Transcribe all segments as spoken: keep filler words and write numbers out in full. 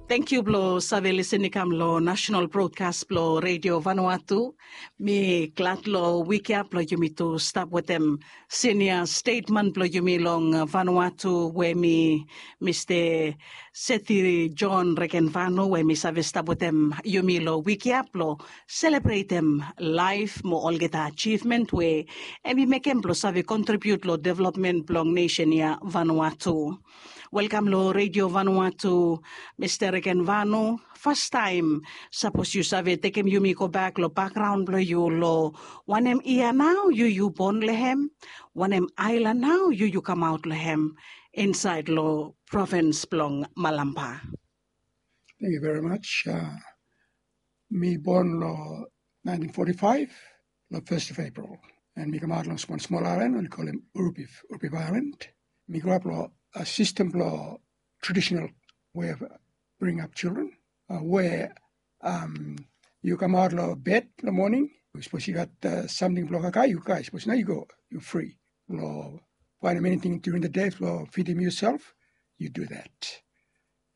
Tangkiu blong save lisin i kam long nasenal brodkas blong Redio Vanuatu. Mi glad long wik ya blong yumi tu stap wetem sinia stetman blong yumi long Vanuatu we mi Mista Seti John Regenvanu we mi save stap wetem yumi long wik ya blong selebretem laef mo olgeta ajivmen we em i mekem blong save kontribiut long developmen blong nesen ya Vanuatu. Welkam long Redio Vanuatu, Mista Regenvanu. Fastaem, sapos yu save tekem yumi gobak long bakgraon blong yu long wanem yia nao yu yu bon long hem, wanem aelan nao yu yu kamaot long hem insaed long provins blong Malampa. Thank you very much. Uh, mi bon long nineteen forty-five, long first of April. And mi kamaot long small small island, oli kolem Urupif, Urupif Island. Mi grow up long a system blong traditional way of bring up children, uh, where um, you come out long bed long morning, suppose you got uh, something blong kakae, you kakae, suppose now you go, you free. Long find anything during the day for feeding yourself, you do that.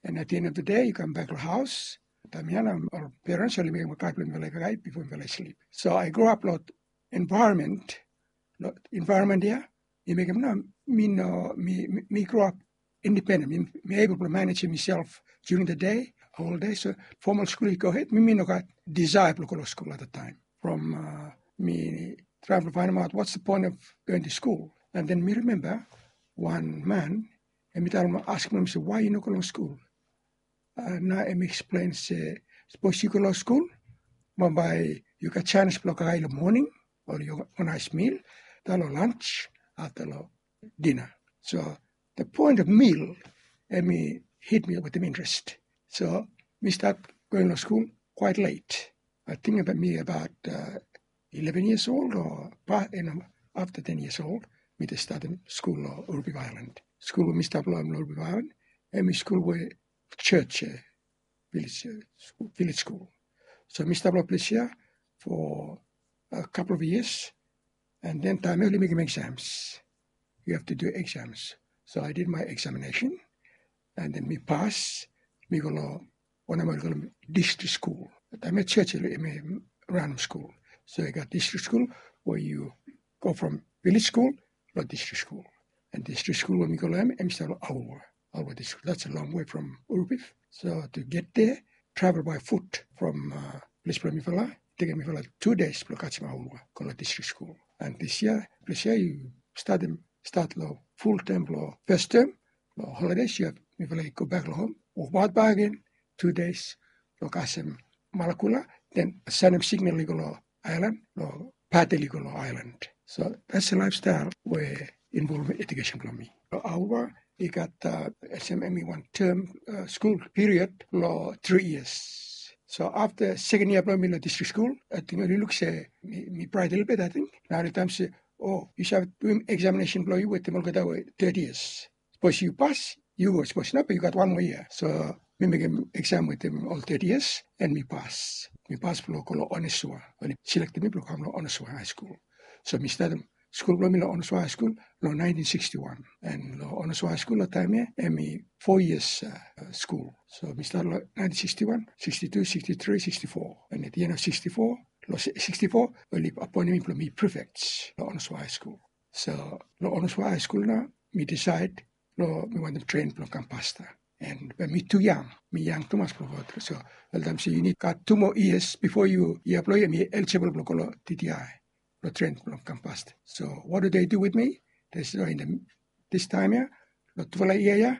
And at the end of the day, you come back to the house. Taem ya nao ol parents oli mekem kakae blong mifala i kakae bifo mifala i slip. So I grow up long environment, long environment ya i mekem nao mi no mi mi grow up independent. Mi, mi able blong manejem miself during the day, whole day. So formal school i go ahead. Mi mi no gat desire blong go long school at the time. From uh, mi try blong faenemaot what's the point of going to school. And then mi remember one man, and mi tell him, ask him, say, why you no go long school? Uh, na em explain se, suppose you go long school, bambae you got chance blong kakae long morning, or you got a nice meal, ta long lunch, after long dinner. So the point of meal, em i hit me with an interest. So mi start going long school quite late. I think about me about uh, eleven years old or pa, you know, after ten years old, mi just started school long Urupi Island. School we mi start long Urupi Island, em i school we church, uh, village, uh, school, village school. So mi start long place here for a couple of years, and then taem ya oli mekem exams. You have to do exams. So I did my examination, and then mi pass, mi go long wanem oli kolem district school. Taem ya church oli ranem school. So I got district school where you go from village school long district school. And district school we mi go long hem, em i stap long Aurua. Aurua district, that's a long way from Urupif. So to get there, travel by foot from uh, place blong mifala, tekem mifala two days blong kasem Aurua go long district school. And this year, place ya i statem start long full term blong first term, long holidays ya mifala i go bak long hom, wokbaot bak agen two days blong kasem Malakula, then sanem signal i go long aelan, long patel i go long aelan. So that's a lifestyle we involve education blong mi. Long Aurua i gat uh, olsem em i wan term uh, school period long three years. So after second year blong mi long district school, ating oli luk se mi, mi bright lelebet, ating. Nao oli taem se, o, yu save duim examination blong yu wetem olgeta we third years. Suppose yu pass, yu go. Suppose nao, yu gat wan moa yia. So mi mekem exam wetem ol third years, and mi pass. Mi pass blong go long Onesua. Oli selektem mi blong kam long Onesua High School. So mi statem skul blong mi long Onesua High School long nineteen sixty-one. And long Onesua High School long taem ya, em i four years uh, school. So mi start long nineteen sixty-one, sixty-two, sixty-three, sixty-four. And at the end of sixty-four, long sixty-four, oli appoint mi blong mi prefect long Onesua High School. So long Onesua High School nao, mi decide long mi wantem train blong kam pastor. And be mi tu yang, mi yang tumas blong go. So oltaem se yu nid gat tu moa years bifo yu yia blong yu em i eligible blong go long T T I blong train blong kam pastor. So what do they do with me? They say, oh, in the, this time ya, long tufala yia ya,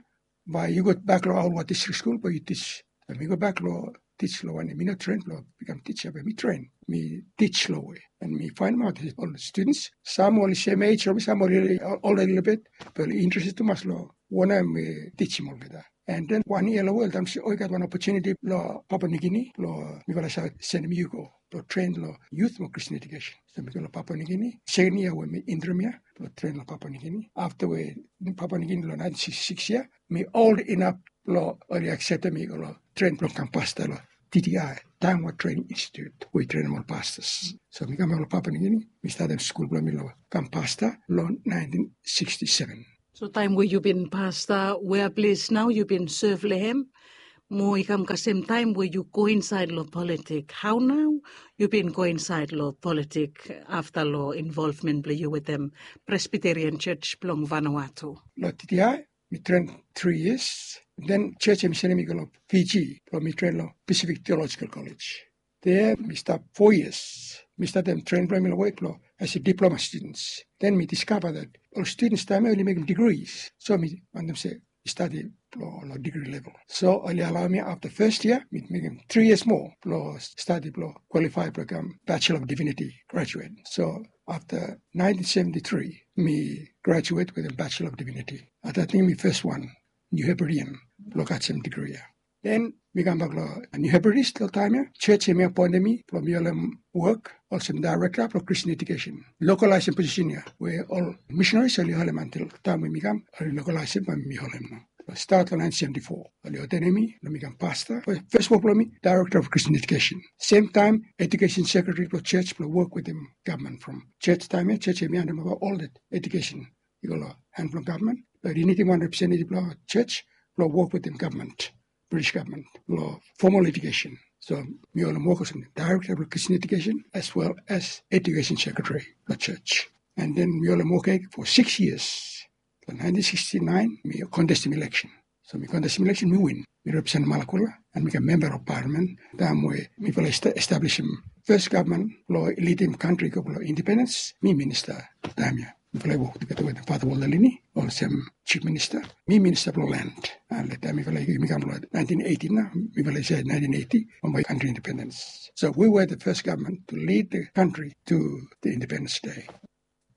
bae yu go bak long Aurua District School bae yu teach. Bae mi go bak long teach long wanem, mi no train blong bikam teacher, bae mi train, mi teach long we. And mi faenemaot ol students, sam oli same age from mi, sam oli older lelebet, bae oli interested tumas long wanem mi teachim olgeta. And then wan yia long we oltaem se, o, i gat wan opportunity long Papua New Guinea blong mifala save sendem yu go blong train long youth mo Christian education. So mi go long Papua New Guinea, second year we mi interim ya blong train long Papua New Guinea. After we Papua New Guinea long nineteen sixty-six ya, mi old enough blong oli acceptem mi go long train blong kam pastor long T T I, Taiwan Training Institute, we i trenem ol pastors. So mi kam long Papua New Guinea, mi statem skul blong mi long kam pastor long nineteen sixty-seven. So taem we yu bin pastor, wea ples nao yu bin sev long hem? Mo i kam kasem taem we yu go insaed long politik. Hao nao yu bin go insaed long politik afta long involvmen blong yu wetem Presbyterian Church blong Vanuatu? Long T T I mi tren tri yias. Den church hemi sendem mi go long Fiji blong mi tren long Pacific Theological College. There mi stap fo yias. Mi statem tren blong mi long wok blong as a diploma students. Den mi diskava that ol students taem ya oli mekem degrees. So mi wantem se mi stadi long, long degree level. So oli alaoem afta fes yia mi mekem tri yias moa blong stadi blong kwalifae blong kam Bachelor of Divinity graduate. So afta nineteen seventy-three mi graduate wetem Bachelor of Divinity. At ating mi fes wan New Hebridean blong gat sem degree ya. Den mi kambak long New Hebrides long taem ya. Church hemi apoentem mi blong mi holem wok olsem daerekta blong Christian Education. Lokalaesem posisen ya we ol misenaris oli holem antil taem we mi kam, oli lokalaesem bae mi holem nao. Stat long nineteen seventy-four oli ordenem mi blong mi kam pasta. Fes wok blong mi daerekta blong Christian Education, semtaem edukesen sekretari blong church blong wok wetem gavman from church taem ya. Church hemi handem ova ol that edukesen i go long han blong gavman. Bat i nidim wan representetiv blong church blong wok wetem gavman, British gavman, long fomal edukesen. So mi holem wok olsem daerekta blong Christian Education as well as edukesen sekretari blong church. And then mi holem wok ya fo sikis yias. Long nineteen sixty-nine mi kontestem ileksen. So mi kontestem ileksen, mi win. Mi representem Malakula and mi kam memba blong palamen. Taem we mifala establisim fes gavman blong lidim kantri i go blong independens, mi minista taem ya. Mifala i wok tugeta wetem Fata Walter Lini olsem chief minista. Mi minista blong len. And long taem mifala i kam long nineteen eighty nao, mifala i save nineteen eighty, bambae kantri independens. So we were the first government to lead the country to the Independence Day.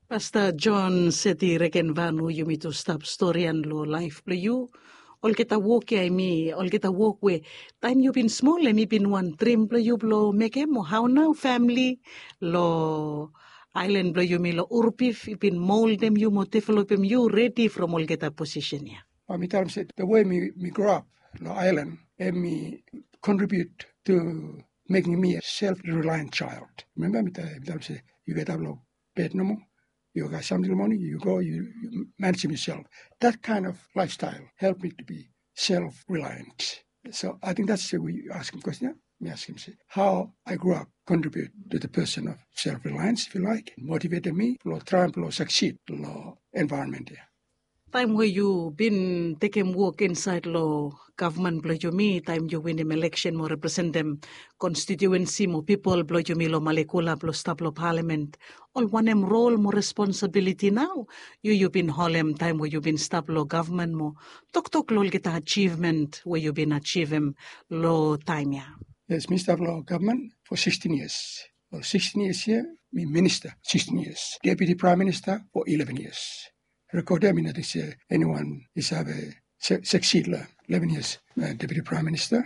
Pasta John Seti Regenvanu, yumi tu stap storian long laef blong yu. Olgeta wok ya hemi olgeta wok we taem yu bin smol hemi bin wan drim blong yu blong mekem, o hao nao famili long aelan blong yumi long Urupif i bin moldem yu mo developem yu redi from olgeta posisen ya? Bae mi talem se the way mi grow up long aelan hemi contribute to making me a self-reliant child. Remember mi talem se yu gat ap long bed nomo, yu gat samting long moning, yu go, yu manejem yuself. That kind of lifestyle help me to be self-reliant. So I think that's the way you ask him question. Mi askem se how I grew up contribute to the person of self-reliance, if you like, motivated me blong traem blong succeed long environment ya. Taem we yu bin tekem wok insaed long gavman blong yumi, taem yu winim ileksen mo representem konstitiuensi mo pipol blong yumi long Malekula blong stap long palamen, ol wanem rol mo responsabiliti nao yu yu bin holem taem we yu bin stap long gavman mo toktok long olgeta ajivmen we yu bin ajivem long taem ya? Yes, mi stap long gavman fo sikstin yias. Long sikstin yias ya mi minista sikstin yias, deputi praem minista fo ileven yias. Rekod ya mi no ting se eniwan i save succeed long ileven yias deputi praem minista.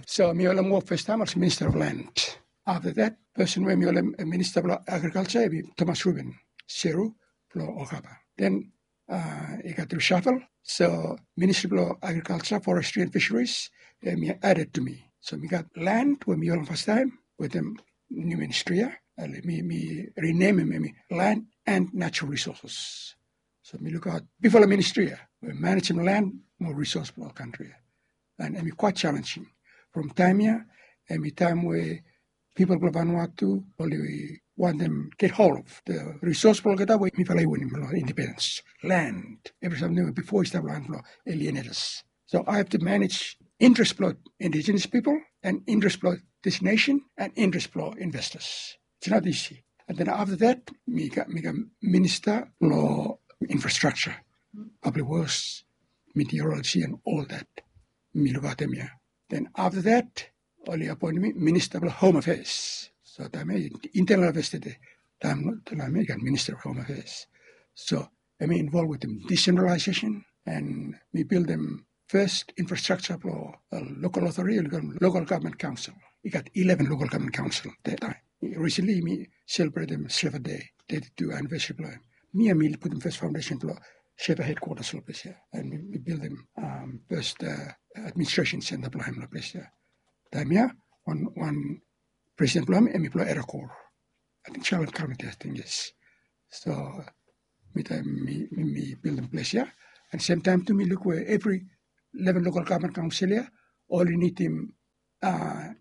So mi holem wok fastaem olsem minista of land. Afta that, pesen we mi holem minista blong agrikalja hemi Thomas Reuben Seru blong Okapa. Den i gat reshuffle. So ministri blong agrikalja, forestri and fisheries hemi added to me. So mi gat land we mi holem fastaem wetem niu ministri ya. Mi renemem hemi land and natural resources. So mi lukaot bigfala ministri ya we manejem land mo resource blong kantri ya. And hemi quite challenging. From taem ya hemi taem we pipol blong Vanuatu oli wantem get hold of the resource blong olgeta we mifala i winim long independens. Land, evri samting we bifo i stap long han blong alienatas. So I have to manage interest blong indigenous people and interest blong this nation and interest blong investors. It's not easy. And then after that mi kam minista blong infrastructure, public works, meteorology and all that. Mi lukaotem ya. Then afta that oli apoentem mi minista blong hom afeas. So taem ya internal afeas tede, taem ya i gat minista blong hom afeas. So hemi involv wetem desentralaesesen and mi bildim fes infrastrukja blong lokal otoriti, lokal gavman kaonsel. I gat ileven lokal gavman kaonsel. That taem, risentli mi selebretem Shefa Dei, teti tu anivesari blong hem. Mi ya mi putum fes faondesen blong Shefa hedkwatas long ples ya. And mi bildim fes administresen senta blong hem long ples ya. Taem ya wan presiden blong hem hemi blong Era Kor. Ating Charlotte Carpenter, ating, yes. So mi taem mi bildim ples ya. And semtaem tu mi luk we evri ileven lokal gavman kaonsel ya oli nidim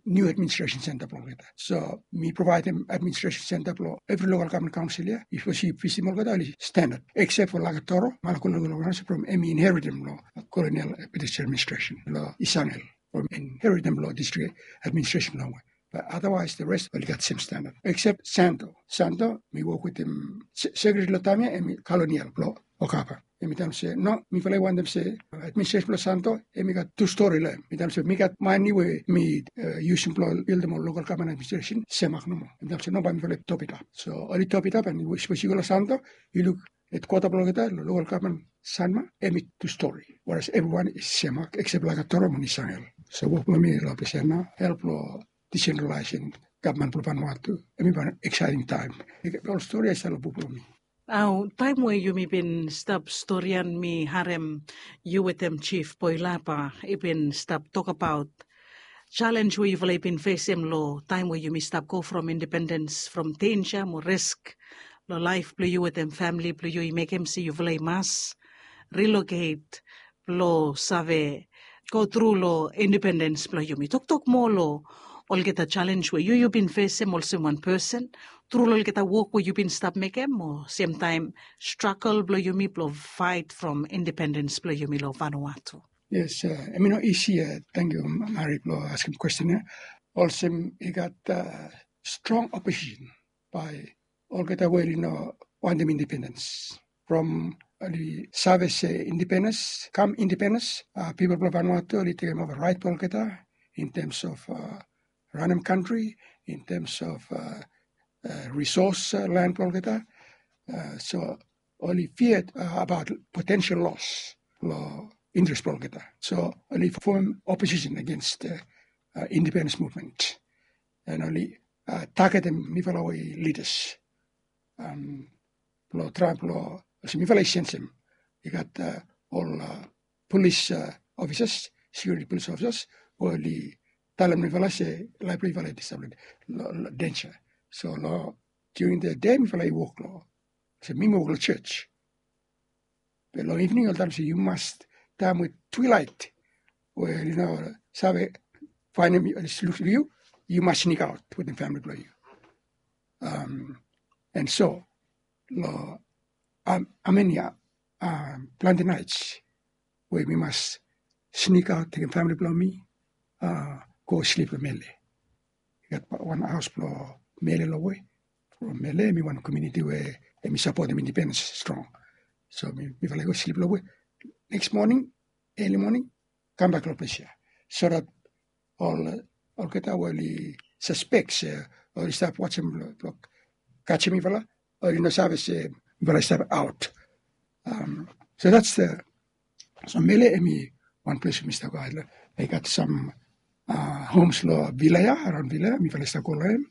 niu administresen senta blong olgeta. So mi provaedim administresen senta blong evri lokal gavman kaonsel ya. Yu sapos yu visitim olgeta oli standad, eksep fo Lakatoro, Malakula lokal kaonsel from em i inheritim long kolonial British administresen long Isangel, from inheritim long distrik administresen longwe. But otherwise the rest oli gat sem standad eksep Santo. Santo mi wok wetem sekretari long taem ya, em i kolonial blong Okapa. Em i talem se no, mifala i wantem se administresen blong Santo em i gat tu stori long em. Mi talem se mi gat mane we mi yusim blong bildim ol lokal gavman administresen semak nomo. Em i talem se no, bae mifala i topitap. So oli topitap, and sapos yu go long Santo, yu luk hedkwata blong olgeta long lokal gavman Sanma, em i tu stori, whereas evriwan i semak eksep Lakatoro mo Isangel. So wok blong mi long ples ya nao, help long disentralaesem gavman blong Vanuatu. Em i wan eksaeting taem. Ol stori ya i stap long buk blong mi. Nao taem we yumi bin stap storian, mi harem yu wetem Jif Boilapa i bin stap tokbaot jalenj we yufala i bin fesem long taem we yumi stap go from indipendens from denja mo risk long laef blong yu wetem famili blong yu, i mekem se yufala i mas riloket blong save go tru long indipendens blong yumi. Toktok moa long olgeta jalenj we yu yu bin fesem olsem wan pesen tru long olgeta wok we yu bin stap mekem, mo semtaem stragol blong yumi blong faet from indipendens blong yumi long Vanuatu. Yes, em i no isi. Tangkiu Mari blong askem kwesten ya. Olsem i gat strong oposisen bae olgeta we oli no wantem indipendens. From oli save se indipendens, kam indipendens, pipol blong Vanuatu oli tekemova raet blong olgeta in tems of ranem kantri, in tems of risos lan blong olgeta. So oli fia abaot potensel los long interes blong olgeta. So oli fomem oposisen agens indipendens muvmen, and oli tagetem mifala we i lidas blong traem blong, olsem mifala i sensem i gat ol polis ofisas, sekiuriti polis ofisas we oli talem mifala se laef blong yufala i stap long denja. So long during the day mifala i wok long, olsem mi mi wok long jos. Be long ivning oli talem se yu mas, taem we twilaet we oli no save faenem yu, oli luk long yu, yu mas snikaot wetem famili blong yu. And so long amenia plante naets we mi mas snikaot tekem famili blong mi go slip long Mele. I gat wan haos blong Mele longwe. From Mele em i wan komuniti we em i sapotem indipendens strong. So mifala i go slip longwe. Neks moning, eli moning, kambak long ples ya, so that ol olgeta we oli saspek se oli stap wajem blong kajem mifala, oli no save se mifala i stap aot. So that's the, so Mele em i wan ples we mi stap go. I gat sam homes long vila ya, araon vila ya mifala i stap go long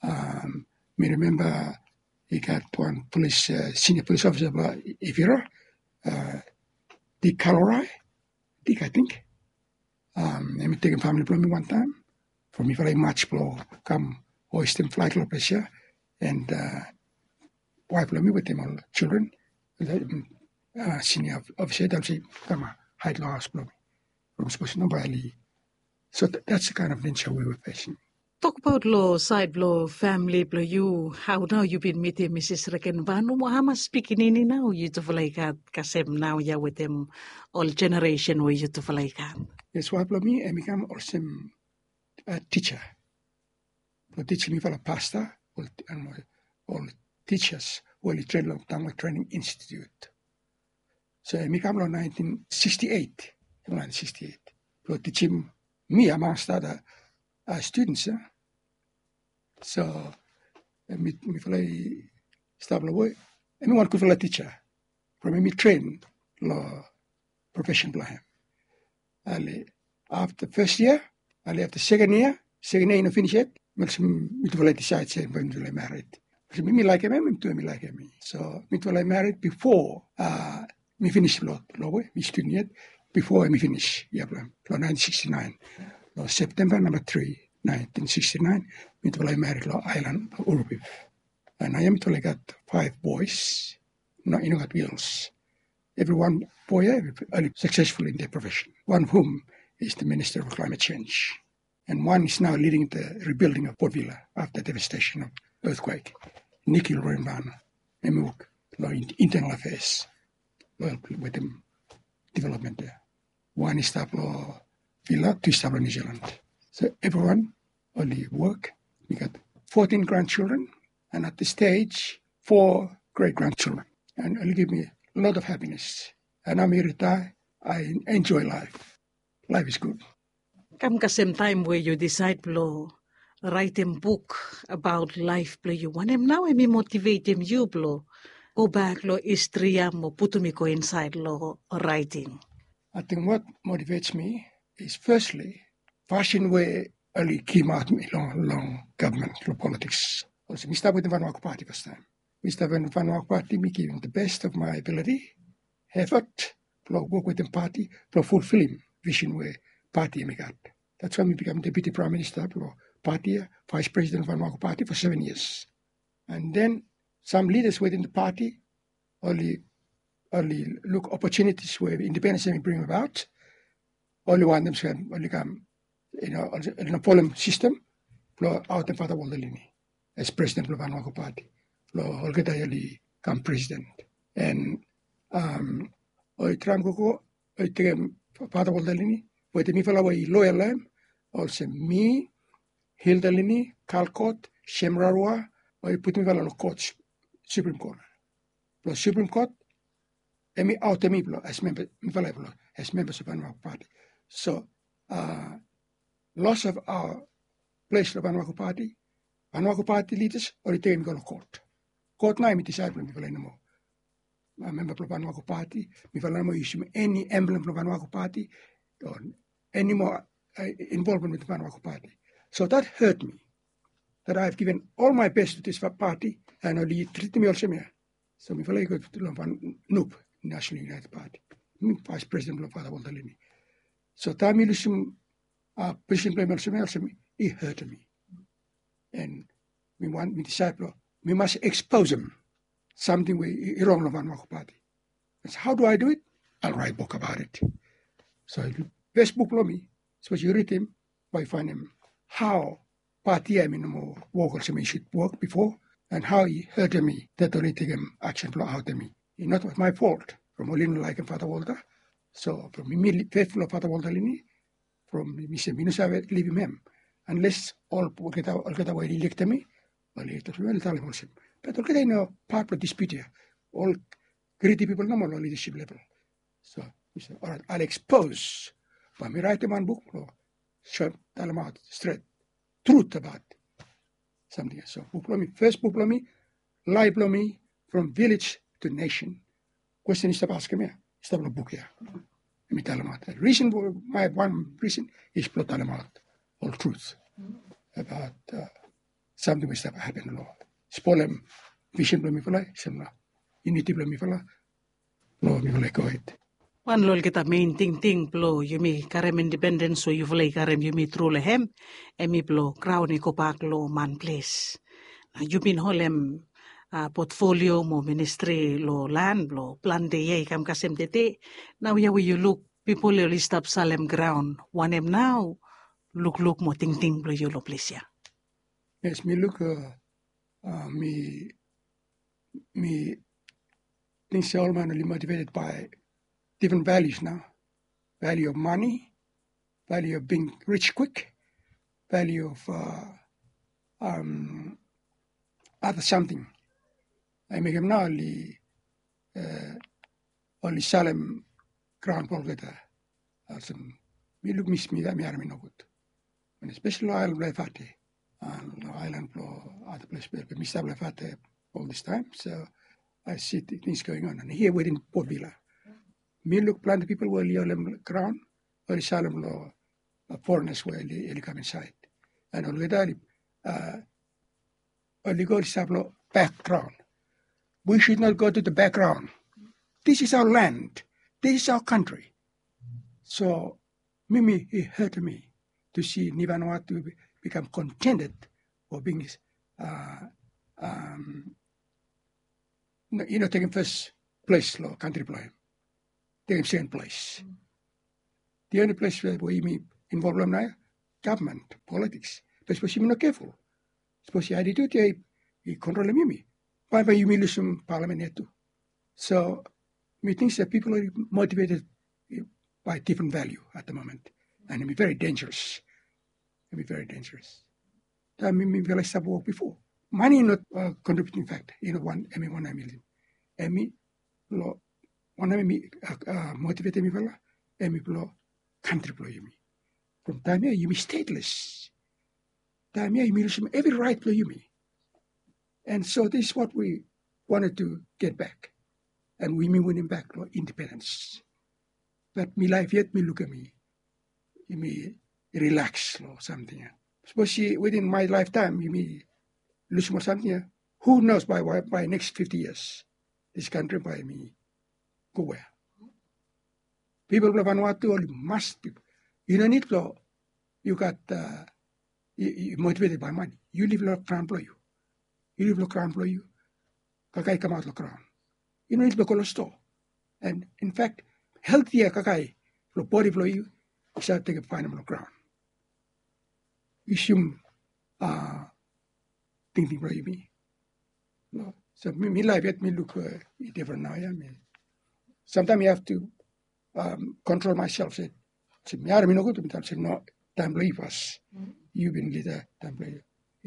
em. Mi rimemba i gat wan polis, sinia polis ofisa blong Ivira, Dik Kalorai, Dik ating. Em i tekem famili blong mi wantaem from mifala i maj blong kam hoestem flag long ples ya, and waef blong mi wetem ol jildren, sinia ofisa i talem se kam haed long haos blong mi from sapos no bae oli. So that's the kind of nature we were facing. Tokbaot long saed blong famili blong yu, hao nao yu bin mitim Misis Regenvanu, mo hamas pikinini nao yutufala i gat kasem naoia wetem ol jeneresen we yutufala i gat? Yes, waef blong mi em i kam olsem tija blong tijim mifala pasta, ol tijas we oli tren long Tangwa Trening Institut. So em i kam long naentin siksti eit, em long naentin siksti eit blong tijim mi amangst ada studens ya. So mifala i stap long wok, em i wan gudfala tija from em i tren long profesen blong hem. Ale afta fes yia, ale afta seken yia, seken yia i no finis yet, mi olsem mitufala i disaed se bae mitufala i mared. Olsem mi mi laekem hem, hem tu hem i laekem mi. So mitufala i mared bifo mi finis long, long we mi studen yet, bifo hem i finis yia blong hem long naentin siksti naen. Long Septemba namba tri, naentin siksti naen, mitufala i mared long aelan Urubif. And naoia mitufala i gat faef boes. No, i no gat gels. Evriwan boe ya oli saksesful in their profession. One of whom is the Minister of Climate Change. And one is now leading the rebuilding of Port Vila after devastation of earthquake. Nikhil Ranbana, hemi wok long internal affairs, long wetem development there. Wan i stap long Vila, tu i stap long New Zealand. So everyone oli wok. Mi gat fourteen grandchildren, and at this stage, four great grandchildren. And oli give me a lot of happiness. And now mi retire, I enjoy life. Life is good. Kam kasem taem we yu disaed blong raetem buk abaot laef blong yu, wanem nao hemi motivetem yu blong gobak long histri ia mo putum i go insaed long raeting? Ating what motivates me is firstly fasin we oli kimaot mi long long gavman, long politiks. Olsem mi stap wetem Vanuatu Pati fastaem. Mi stap wetem Vanuatu Pati, mi givim the best of my ability, effort blong wok wetem pati blong fulfilim vision we pati hemi gat. That's why mi bikam deputi praem minista blong pati ia, vaes presiden blong Vanuatu Pati for seven years. And then sam lidas wetem the pati oli oli luk opportunities we independens hemi bring abaot. Oli wantem se oli kam, you know, oli no folem sistem blong aotem Father Walter Lini as presiden blong Vanuatu Pati blong olgeta oli kam presiden. And um, oli traem gogo, oli tekem Father Walter Lini wetem mifala we i loyal long hem, olsem mi, Hilda Lini, Carl Court, Shem Rarua, oli putum mifala long kot, Supreme Court. Blong Supreme Court hemi aotem mi blong as memba, mifala blong as membas of Vanuatu Pati. So uh, loss of our ples long Vanuatu Pati, Vanuatu Pati lidas oli tekem mi go long kot. Kot nao hemi disaed blong mifala i no moa memba blong Vanuatu Pati, mifala i no moa yusum eni emblem blong Vanuatu Pati o eni moa involvement wetem Vanuatu Pati. So that hurt me, that I have given all my best to this party and oli tritim mi olsem ia. So mifala i go long Nup, National United Party. Mi vaes presiden blong Father Walter Lini. So taem mi lusum posisen blong hem olsem ia, olsem i hurtem mi. And mi wan mi disaed blong mi mas eksposem samting we i rong long Vanuatu Pati. How do I do it? I'll write book about it. So fes buk blong mi, sapos yu ridim, bae yu faenem hao pati ia hemi no moa wok olsem i sud wok bifo, and hao i hurtem mi, that oli tekem aksen blong aotem mi. It's not my fault from oli no laekem Father Walter. So from mi, mi feful long Father Walter Lini, from mi se mi no save livim hem unless ol olgeta we oli ilektem mi, oli ilektem mi, oli talem olsem. Bat olgeta i no pat blong dispute ia. Ol gridi pipol nomo long lidasip level. So mi se orait, I'll expose. Bae mi raetem wan buk blong soem, talemaot stret trut abaot samting ia. So buk blong mi, fes buk blong mi, laef blong mi, From Village to Nation. Kwesten i stap askem ia i stap long buk ia. Hemi talemaot risen, my wan risen is blong talemaot ol trut abaot samting we i stap hapen long spolem visen blong mifala, olsem na yuniti blong mifala, blong mifala i go hed. Wan long olgeta mein tingting blong yumi karem independens we yufala i karem yumi tru long hem, hemi blong graon i gobak long man ples. Na yu bin holem potfolio mo ministri long lan blong plante yia i kam kasem tede. Naoia we yu luk pipol oli stap salem graon, wanem nao lukluk mo tingting blong yu long ples ya? Yes, mi luk, mi mi ting se ol man oli motiveted by different values nao. Value of money, value of being rich quick, value of other something. I mekem nao oli oli salem graon blong olgeta. Olsem mi luk mi, mi harem i nogud. Espeseli long aelan blong Efate, long aelan blong ada ples be mi stap long Efate ol distaem. So I see things going on and hia wetem Port Vila. Mi luk plante pipol we oli holem graon, oli salem long forenas we oli kam insaed. And olgeta oli oli go oli stap long bakgraon. We should not go to the background. This is our land. This is our country. So mi, mi, i hurtem mi to si Ni Vanuatu bikam contented for being i no tekem fes ples long kantri blong hem. Tekem seken ples. The only ples we yumi involv long nao ya, gavman, politiks. Be sapos yumi no keful, sapos ya atitut ya i kontrolem yumi, bae bae yumi lusum palamen ya tu. So mi ting se pipol oli motiveted by difren valiu at the moment, and hemi very dangeros. Hemi very dangeros. Taem mifala i stap wok bifo, mane i no kontribiuting fakta. I no wan, hemi wan hemi lin hemi long wanem hemi motivetem mifala, hemi blong kantri blong yumi. From taem ya yumi stateles. Taem ya yumi lusum evri raet blong yumi. And so this is what we wanted to get back. And yumi winim bak long independens. Bat mi laef yet mi lukim yumi rilaks long samting ya. Sapos i within my lifetime yumi lusum ol samting ya, who knows by, by next fifty years this country bae mi go wea? Pipol blong Vanuatu oli mas pipol. Yu no nid blong yu gat, yu motiveted by money. Yu liv long graon blong yu. Yu liv long graon blong yu. Kakae i kamaot long graon. Yu no nid blong go long stoa. And in fact, heltia kakae blong bodi blong yu i save tekem faenem long graon. Yu sium tingting blong yumi. So mi laef yet mi luk i difren naoia. Samtaem yu have to kontrol maesel se, se mi harem i nogud, mi talem se no, taem blong yu fas. Yu bin lida taem blong yu.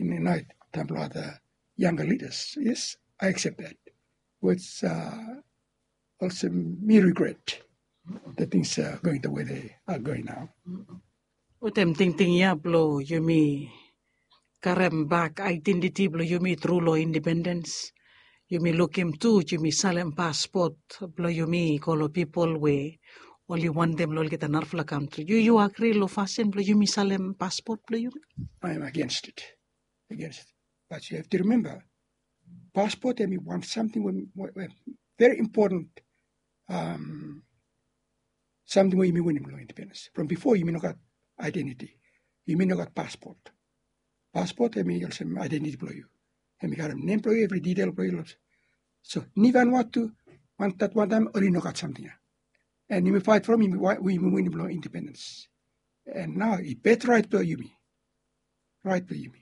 Naoia taem blong ada yanga lidas. Yes, I accept that. Olsem mi regret the things are going the way they are going now. Wetem tingting ya blong yumi karem bak aedentiti blong yumi tru long independens, yumi lukim tu yumi salem paspot blong yumi i go long pipol we oli wantem long olgeta narafala kantri. Yu, yu agri long fasin blong yumi salem paspot blong yumi? I am against it. Against it. But you have to remember, paspot hemi wan samting we, we very important samting we yumi winim long independens. From bifo yumi no gat aedentiti. Yumi no gat paspot. Paspot hemi olsem aedentiti blong yu. Hemi karem nem blong yu, evri ditel blong yu. So ni Vanuatu, wan, dat wan taem oli no gat samting ya. And yumi faet from yumi, yumi winim long independens. And nao i bet raet blong yumi. Raet blong yumi.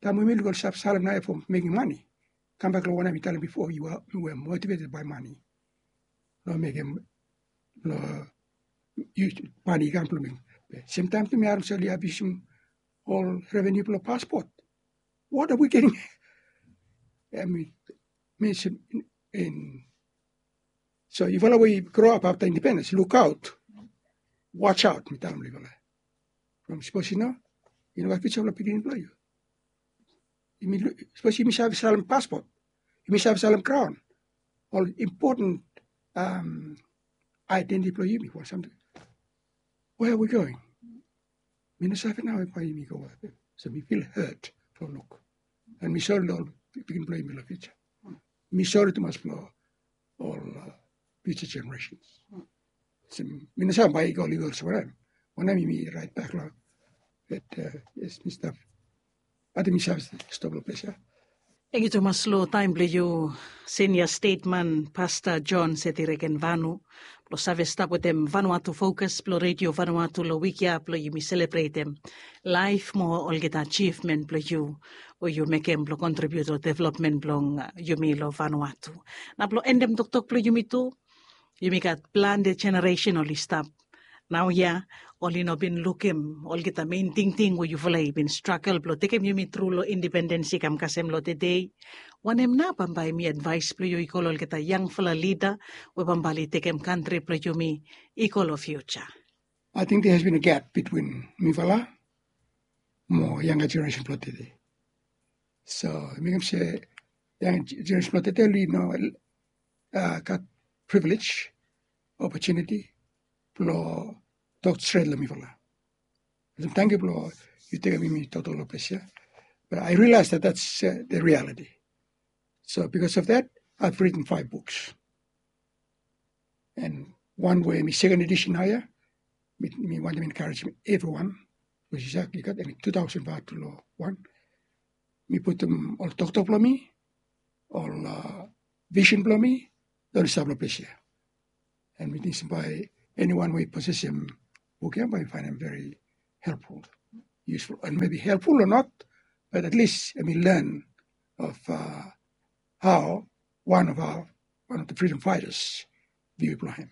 Taem we yumi luk oli save salem naoia fo mekem mane, kambak long wanem mi talem bifo, yu are, yu are motivated by money. Long mekem, long yu, mane i kam blong mekem. Semtaem tu mi harem se oli abiusum ol reveniu blong paspot. What are we getting? I mean, mi se in So yufala we i groap afta independens, lukaot, watch out, mi talem long yufala. From sapos i no, i no gat fiuja blong pikinini blong yu. Sapos yumi save salem paspot, yumi save salem graon, ol impoten aedentiti blong yumi, fo samting. Where are we going? Mi no save nao bae yumi go wea. So mi fil hot long luk. And mi sori long ol pikinini blong yumi long fiuja. Mi sori tumas long ol fiuja jeneresens. Mi no save bae i go ligo olsem wanem. Wanem yumi raet bak long. Bat yes, mi stap. Ating mi save stop long ples ya. Tangkiu tumas long taem blong yu, senior statesman Pasta John Seti Regenvanu, blong save stap wetem Vanuatu Focus blong Redio Vanuatu long wik ya blong yumi selebretem laef mo olgeta ajivmen blong yu we yu mekem blong kontribiut long developmen blong yumi long Vanuatu. Na blong endem toktok blong yumi tu, yumi gat plante jeneresen oli stap naoia, oli no bin lukim olgeta mein tingting we yufala i bin stragel blong tekem yumi tru long independens i kam kasem long tede. Wanem nao bambae hemi advaes blong yu i go long olgeta yangfala lida we bambae oli tekem kantri blong yumi i go long fiuja? Ating there has been a gap bitwin mifala mo yanga jeneresen blong tede. So mekem se yanga jeneresen blong tede oli no gat privilej, opotuniti blong tok stret long mifala. Tangkiu blong yu tekem mi toktok long ples ya. But I realize that that's the reality. So because of that, I've written five books. And wan we hemi second edition naoia, mi wantem enkarejem evriwan, bikos i gat hemi tu taosen vatu long wan. Mi putum ol toktok blong mi, ol visen blong mi, oli stap long ples ya. And mi ting se bae eniwan we i posesem buk ya bae mi faenem very helpful, useful, and maybe helpful or not, but at least hemi learn of uh, how one of our one of the freedom fighters view blong hem.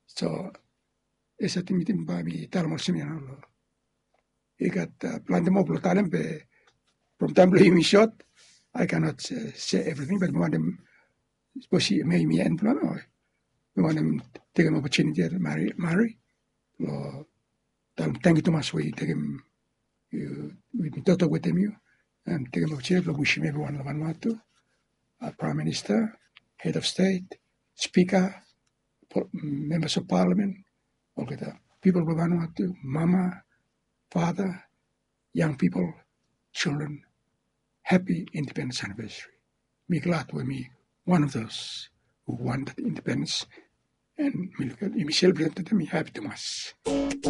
So esa ting mi ting bae mi talem olsem ya nao. I gat uh, planti moa blong talem, be from taem blong yumi sot, I cannot uh, say everything, but mi wantem, sapos mi en blong mi, mi wantem tekem opportunity ya, Mari, Mari, blong talem tangkiu tumas we yu tekem, yu, yu toktok wetem yu, and tekem opportunity blong wishim evriwan long Vanuatu, uh, Prime Minister, Head of State, Speaker, members of Parliament, olgeta pipol blong Vanuatu, mama, father, young people, children, happy independence anniversary. Mi glad we mi one of those who won that independence, and mi luk yumi celebrate, mi happy tumas.